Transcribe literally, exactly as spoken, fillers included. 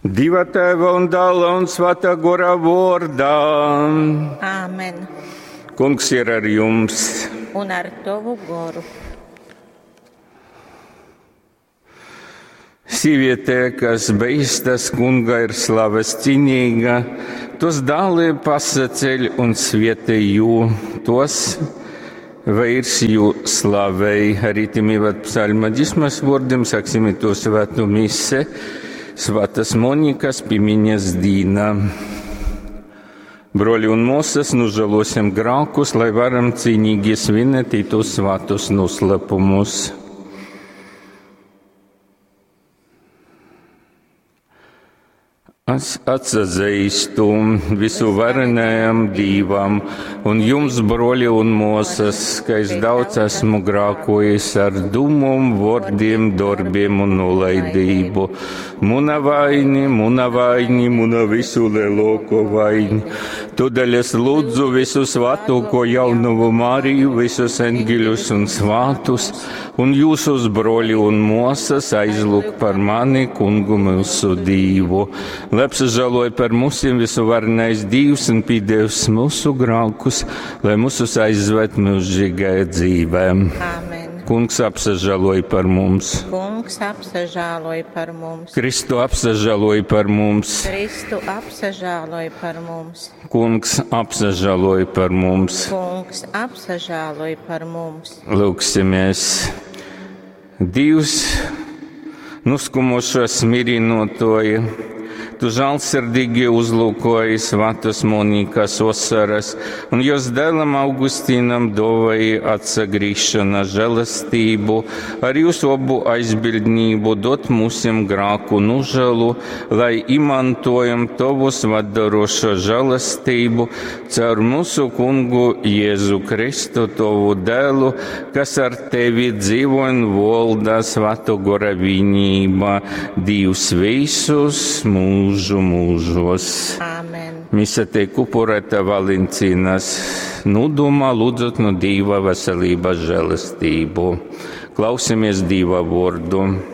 Dieva Tēva un Dēla un Svētā Gora vārdā. Āmen. Kungs ir ar jums. Un ar tovu goru. Sīviete, kas beistas kunga, ir slaves cienīga, tos dāli pasaceļ un svietē jū, tos veirs jū slavei. Arī tim ievad psalma dismas vārdiem, saksim to svētu mise, Svētas Monikas pimiņas dīna. Broļi un māsas, nožēlosim grēkus, lai varam cīnīgi svinēt tos svētus noslēpumus. Es atsazīstu visu varenajam Dīvam un jums, broļi un māsas, ka es daudz esmu grākojis ar dumum, vārdiem, darbiem un nolaidību. Muna vaini, muna vaini, muna visu lielāko vaini. Tādēļ es lūdzu visu svētoko jaunavu Mariju, visus engeļus un svātus, un jūsus broļi un māsas aizlūk par mani, kungu mūsu Dīvu. Lai apsažēloja par mūsiem visuvarenais Dievs un pīdevs mūsu grākus, lai mūsus aizved mūžīgajā dzīvē. Āmen. Kungs apsažēloja par mums. Kungs apsažēloja par mums. Kristu apsažēloja par mums. Kristu apsažēloja par mums. Kungs apsažēloja par mums. Kungs apsažēloja par mums. Lūksimies. Dievs, nuskumušos mirinotoja, tu žēlsirdīgi uzlūkoji svētas Monikas osaras, un jos dēlam Augustīnam dāvāji atsagrīšana žēlastību, ar jūsu obu aizbildnību dot mūsim grāku nožēlu, lai imantojam tavu svatdarošo žēlastību caur mūsu kungu Jēzu Kristu, tavu dēlu, kas ar tevi dzīvo un valda Svēto Gora vienībā, Dievs visus mūžu mūžos. Āmen. Mise tiek upurēta Valencīnas nodomā, lūdzot no Dieva veselības žēlastību. Klausimies Dieva vārdu.